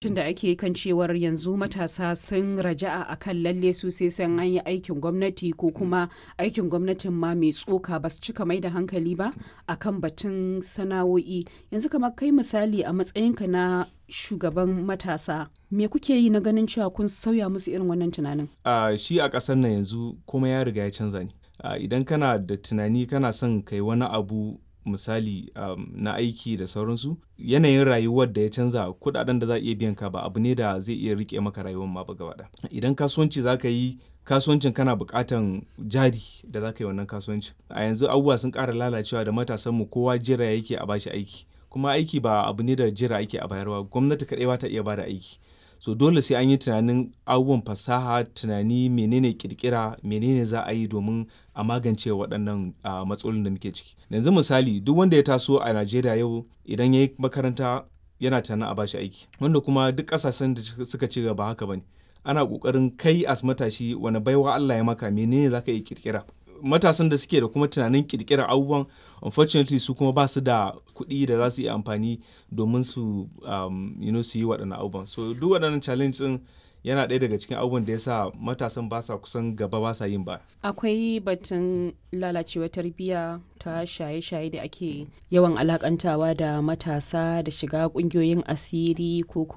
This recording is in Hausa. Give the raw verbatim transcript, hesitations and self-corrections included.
Tun da ake kan cewar yanzu matasa sun raja'a akan lalle su sai sun an yi aikin gwamnati ko kuma aikin gwamnatin ma mai tsoka ba su cika mai da hankali ba akan batun sana'o'i. Yanzu kamar kai misali a matsayinka na shugaban matasa, me kuke yi na ganin cewa kun sauya musu irin wannan tunanin? Uh, shi a ƙasar nan yanzu komai ya riga ya canza ne. Uh, idan kana da tunani kana son kai wani abu misali um, na aiki da sauransu, yanayin rayuwar da ya canza, kuɗaɗen da za a iya biyan ka ba abu ne da zai iya riƙe maka rayuwar ma ba gaba ɗaya. Idan kasuwanci za ka yi, kasuwancin kana buƙatan jari da za ka yi wannan kasuwancin. A yanzu abubuwa sun ƙara lalacewa da matasanmu kowa jira yake a bashi aiki. Kuma aiki ba abu ne da jira ake a bayarwa, gwamnati kaɗai ba ta iya bada aiki. So dole sai an yi tunanin abubuwan fasaha, tunani menene ƙirƙira, menene za a yi domin a magance waɗannan uh, matsalolin da muke ciki. Yanzu misali duk wanda ya taso a Najeriya yau idan ya yi makaranta yana tunanin a bashi aiki. Wanda kuma duk ƙasashen da suka ci gaba haka bane. Ana ƙoƙarin kai as matashi wane baiwa Allah ya maka, menene za ka iya ƙirƙira. Matasan da suke da kuma tunanin ƙirƙirar abubuwan, unfortunately su kuma ba su da kuɗi da za su iya amfani domin su um, you know, su yi waɗannan abubuwan. So duk waɗannan challenge ɗin yana ɗaya daga cikin abubuwan da ya sa matasan ba sa kusan gaba ba sa yin ba. Akwai batun lalacewar tarbiyya ta shaye-shaye da ake yawan alakantawa da matasa da shiga ƙungiyoyin asiri ko